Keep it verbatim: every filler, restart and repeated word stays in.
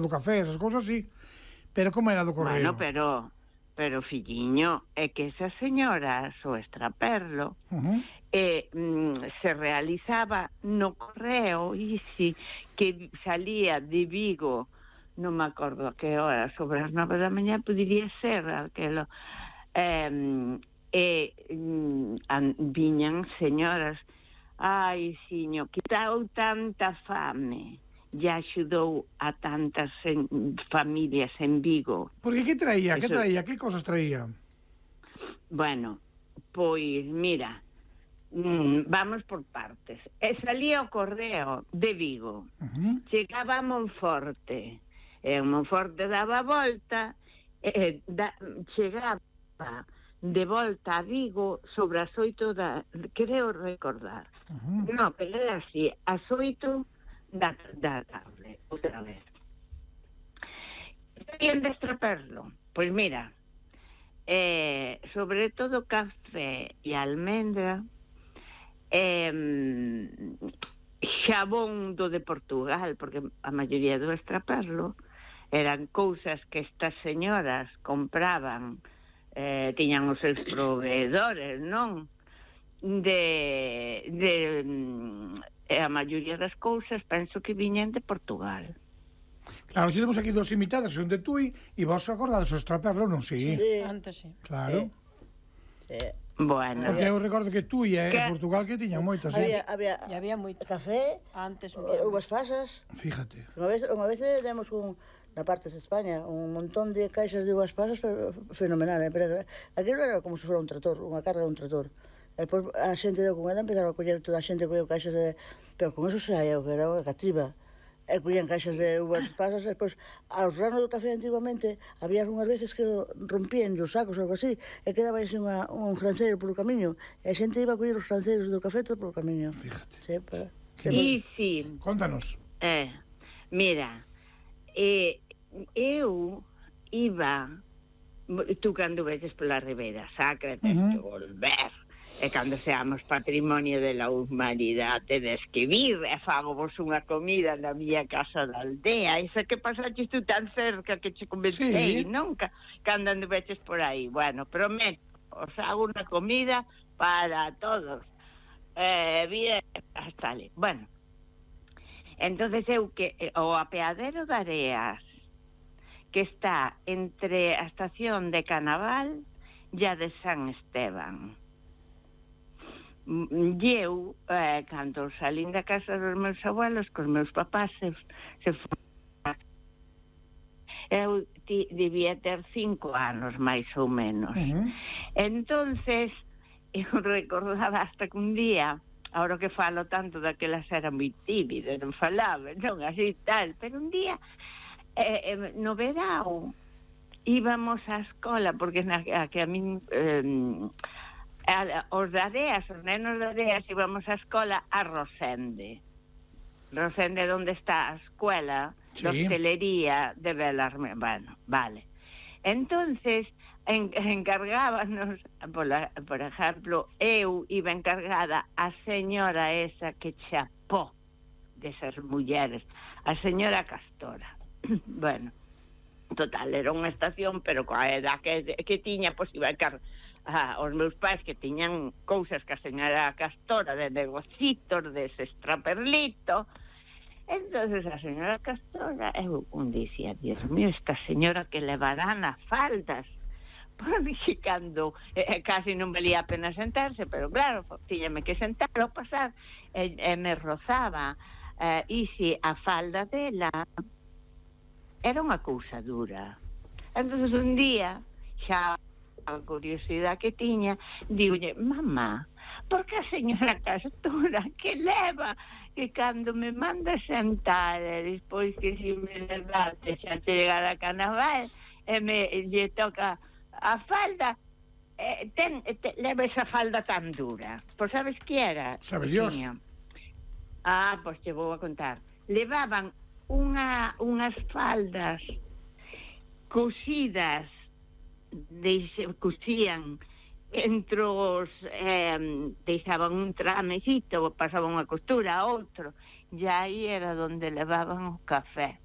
do café, esas cousas así. Pero como era do correo? Bueno, pero, pero filliño, é que esa señora, o extraperlo, uh-huh. eh, mm, se realizaba no correo, e si, que salía de Vigo, non me acordo a que hora, sobre as nove da mañá, podería ser aquelo, eh, e mm, viñan señoras, ai, siño, que dou tanta fame, e axudou a tantas en, familias en Vigo. Porque que traía? Eso... que traía? Que cosas traía? Bueno, pois, mira, mm, vamos por partes. E salía o correo de Vigo, uh-huh. chegaba a Monforte, e o Monforte daba a volta, e da, chegaba de volta a Vigo sobre as oito da... creo recordar. Uh-huh. No, pero era así, as oito... Da, da tarde, outra vez. Bien de extraperlo? Pois mira, eh, sobre todo café e almendra, eh, xabón do de Portugal, porque a maioría do extraperlo eran cousas que estas señoras compraban, eh, tiñan os seus proveedores, non? De... de e a maioría das cousas penso que viñen de Portugal. Claro, si temos aquí dos imitadas, son de Tui, e vos acordades o extraperlo, non si? Sí, antes sí. Claro. Sí. Sí. Bueno. Porque eu recordo que Tui e que... Portugal que tiñan moitas, sí. Había, había, había moito café, antes uvas pasas. Fíjate. Unha vez, unha vez demos un, na parte de España, un montón de caixas de uvas pasas fenomenal, eh? Pero aquilo era como se fora un trator, unha carga de un trator. E depois a xente deu con ela, empezaron a coller, toda a xente colleu caixas de... Pero con eso se eu, que era unha cativa. E collían caixas de uvas pasas, e depois, aos ranos do café antiguamente, había unhas veces que rompían os sacos ou algo así, e quedaba así unha, un franceiro polo camiño, e a xente iba a coller os franceiros do café todo polo camiño. Fíjate. Sí, para... E sí. Contanos. Eh, mira, eh, eu iba... Tú cando veces pola Ribeira Sacra, tens uh-huh. que volver... E cando seamos patrimonio de la humanidade, tedes que vir e fago vos unha comida na miña casa da aldea. Esa que pasaches tú tan cerca que che convencei, sí. Nunca cando anduveches por aí. Bueno, prometo, os hago unha comida para todos. Eh, bien, hasta ali. Bueno, entonces eu que o apeadero de Areas, que está entre a estación de Canaval e a de San Esteban. E eu, eh, cando salín da casa dos meus abuelos, cos meus papás se, se foron, eu ti, debía ter cinco anos máis ou menos. Uh-huh. Entonces eu recordaba hasta que un día, ahora que falo tanto daquelas era moi tímida, non falaba, non así tal, pero un día eh, eh, no verao íbamos á escola, porque na, a, que a min eh, A, os de Areas, os nenos de Areas íbamos á escola a Rosende. Rosende onde está a escuela sí. de hostelería de Belarmé. Bueno, vale. Entonces en, encargábanos, por, la, por exemplo, eu iba encargada a señora esa que chapó desas mulleres, a señora Castora. Bueno, total, era unha estación, pero coa edad que, que tiña, pois iba a encargar Ah, os meus pais que tiñan cousas que a señora Castora de negocitos, de ese extraperlito. Entonces a señora Castora eu un dicía, Dios mío, esta señora que levará nas faldas, porque cando eh, casi non valía a pena sentarse, pero claro, tiñame que sentar ao pasar, e, e me rozaba eh, e si a falda dela era unha cousa dura. Entonces un día xa a curiosidade que tiña, digolle, mamá, por que a señora Castora que leva, que cando me manda sentar e despois que si me levante xa chegar a Canaval e me lle toca a falda, eh, ten, te, leva esa falda tan dura? Pois sabes que era? Sabe Dios. Ah, pois te vou a contar. Levaban unha, unhas faldas cosidas, Deixe, cosían entre os eh, deixaban un tramecito, pasaban unha costura a outro, e aí era donde levaban o café.